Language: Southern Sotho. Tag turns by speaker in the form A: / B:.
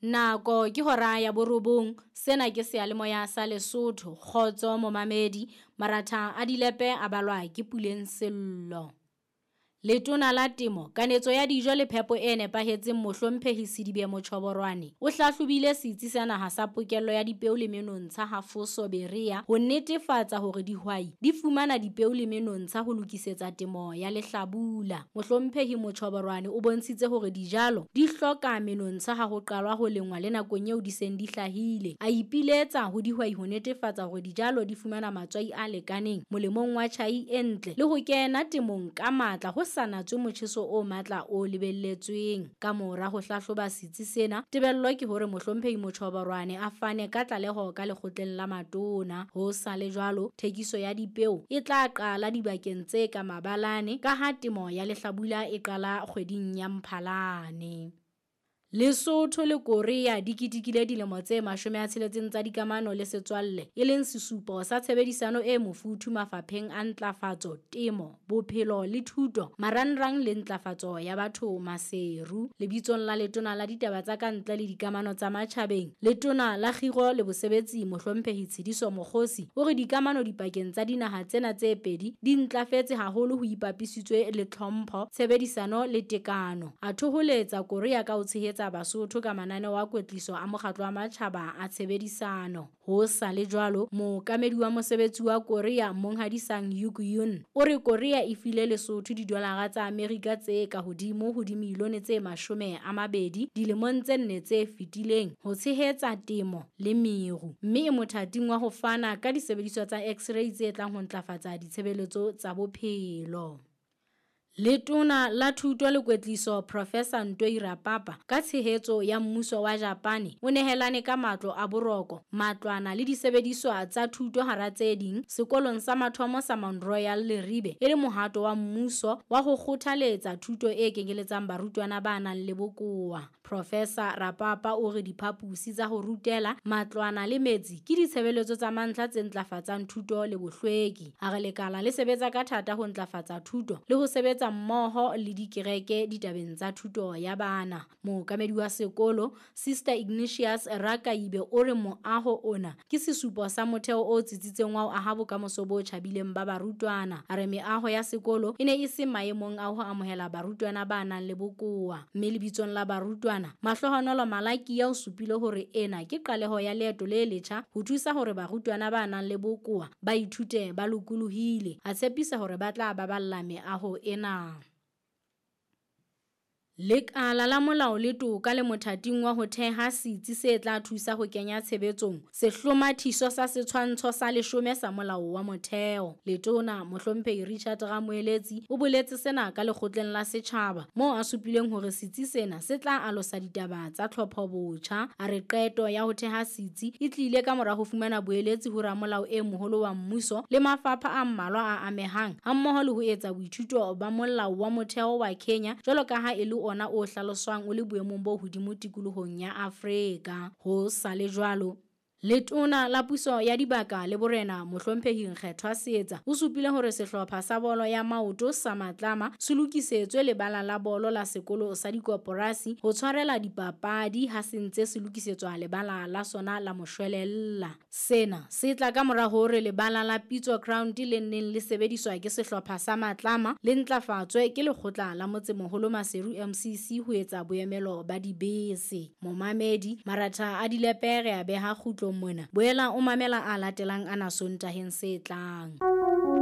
A: Nako ke hora ya borobong, sena ke seyalemoya sa Lesotho. Kgotso momamedi, maratha a dilepe a balwa ke Puleng Sello. Letona la Temo, Kanetso ya Dijo le Phepo e Nepahetseng Mohlomphehi Sedibe Mochoborwane o hlahlobile setsi sa naha sa pokello ya dipeo le menontsha ha Foso Berea ho netefatsa hore dihwai di fumana dipeo le menontsha ho lokisetsa temo ya lehlabula. Mohlomphehi Mochoborwane o bontshitse hore dijalo di hloka menontsha ha ho qalwa ho lengwa le nakong eo di seng di hlahile. A ipiletsa ho dihwai ho netefatsa hore dijalo di fumana matswai a lekaneng molemong wa tjhai e ntle le ho kena temong ka matla ho sa natswe motjheso o matla o lebelletsweng. Ka mora ho hlahloba setsi sena, tebello ke hore Mohlomphehi Mochoborwane a fane ka tlaleho ka lekgotleng la matona. Ho sa le jwalo, thekiso ya dipeo e tla qala dibakeng tse ka mabalane ka ha temo ya lehlabula e qala kgweding ya Mphalane. Lesotho le Korea di ketekile dilemo tse 60 tsa dikamano le setswalle, e leng sesupo sa tshebedisano e mofuthu mafapheng a ntlafatso, temo, bophelo le thuto, marangrang le ntlafatso ya batho Maseru. Lebitsong la Letona la Ditaba tsa Kantle le Dikamano tsa Matjhabeng, Letona la Kgiro le Bosebetsi Mohlomphehi Tshediso Mokgosi o re dikamano dipakeng tsa dinaha tsena tse pedi di ntlafetse haholo ho ipapisitswe le tlhompho, tshebedisano le tekano. A thoholetsa Korea ka ho tshehetsa Basotho ka mananeo a kwetliso a mokgatlo wa matjhaba a tshebedisano. Ho sa le jwalo, mookamedi wa mosebetsi wa Korea Monghadi Sang Yuk Yun o re Korea e file Lesotho didolara tsa Amerika tse ka hodimo ho dimilione tse 20 dilemong tse 4 tse fetileng ho tshehetsa temo le meru, mme e mothating wa ho fana ka disebediswa tsa X-ray tse tlang ho ntlafatsa ditshebeletso tsa bophelo. Letona la Thuto le Kwetliso Professor Ntoi Rapapa ka tshehetso ya mmuso wa Japane o nehelane ka matlo a boroko, matlwana le disebediswa tsa thuto hara tse ding sekolong sa mathomo sa Mount Royal Leribe e le mohato wa mmuso wa ho kgothaletsa thuto e kenyeletsang barutwana ba nang le bokowa. Professor Rapapa o re diphaposi tsa ho rutela, matlwana le metsi ke ditshebeletso tsa mantlha tse ntlafatsang thuto le bohlweki. A re lekala le sebetsa ka thata ho ntlafatsa thuto le ho sebetsa mmoho le dikereke ditabeng tsa thuto ya bana. Mookamedi wa sekolo, Sister Ignatius Rakaibe o re moaho ona ke sesupo sa motheo o tsitsitseng wa ho aha bokamoso bo tjhabileng ba barutwana. A re meaho ya sekolo e ne e se maemong a ho amohela barutwana ba nang le bokowa. Mme lebitsong la barutwana, Mahlohonolo Malakia o supile hore ena ke qaleho ya leeto le letjha ho thusa hore barutwana ba nang le bokowa ba ithute ba lokolohile. A tshepisa hore ba tla baballa meaho ena. Lekala la molao le toka le mothating wa ho theha setsi se tla thusa ho kenya tshebetsong sehlomathiso sa setshwantsho sa 10 sa molao wa motheo. Letona Mohlomphehi Richard Ramoeletsi o boletse sena ka lekgotleng la setjhaba moo a supileng hore setsi sena se tla alosa ditaba tsa tlhopho botjha. A re qeto ya ho theha setsi e tlile ka mora ho fumana boeletsi ho ramolao e moholo wa mmuso le mafapha a mmalwa a amehang hammoho le ho etsa boithuto ba molao wa motheo wa Kenya jwalo ka ha e le ona o hlaloswang o le boemong bo hodimo tikolohong ya Afrika. Ho sa le jwalo, Letona la Puso ya Dibaka le Borena Mohlomphehi Nkgethwa Seetsa o supile hore sehlopha sa bolo ya maoto sa Matlama se lokisetswe lebala la bolo la sekolo sa dikoporasi ho tshwarela dipapadi ha se ntse se lokisetswa lebala la sona la moshwelella. Sena se tla ka mora hore lebala la Pitso Ground le neng le sebediswa ke sehlopha sa Matlama le ntlafatswe ke lekgotla la motsemoholo Maseru MCC ho etsa boemelo ba dibese. Momamedi, maratha a dilepe re a beha kgutlong mona. Boela o mamela a latelang ana Sontaheng se tlang.